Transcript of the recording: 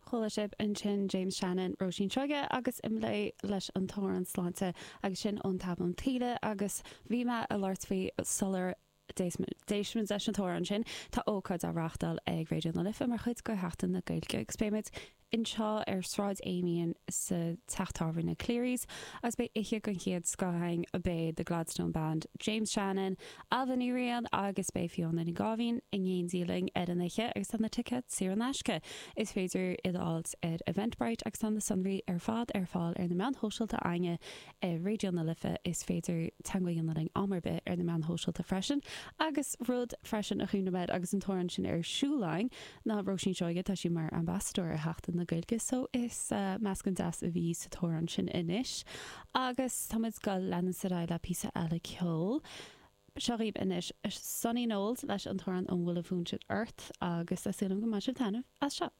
Chuala sibh ansin James Shannon, Róisín Seoige agus Imlé leis an t-amhrán Sláinte agus sin ón t-albam Taoille agus bhí mé ag labhairt faoi sular d'éist muid leis an t-amhrán sin. Tá ócáid á reáchtáil ag Raidió na Life mar chuid de Sheachtain na Gaeilge agus beidh muid anseo ar Sráid Amiens sa teach tábhairne Cleary's agus beidh oíche den chéad scoth againn, beidh The Gladstone Band, James Shannon, Ailbhe Ní Riain agus beidh Fiona Ní Gáibhín in éindí linn ar an oíche agus tá na ticéid saor in aisce. Is féidir iad a fháilt ar Eventbrite agus tá na sonraí ar fad ar fáil ar na meáin shóisialta againne ar Raidió na Life. Is féidir teagmháil a dhéanamh linn am ar bith ar na meáin shóisialta freisin. Agus rud freisin a chuimhnigh mé air agus an t-amhrán sin ar siúl againn ná Róisín Seoige, tá sí mar ambasadóir ar Sheachtain na Gaeilge so is meascán deas a bhí sa t-amhrán sin anois. Agus tá muid ag dul leanúint ar aghaidh le píosa eile ceoil. Seo dhaoibh anois Sonny Knowles leis an t-amhrán An Bhfuil an Fonn Sin Ort agus tá súil agam go mbainfidh sibh taitneamh as seo.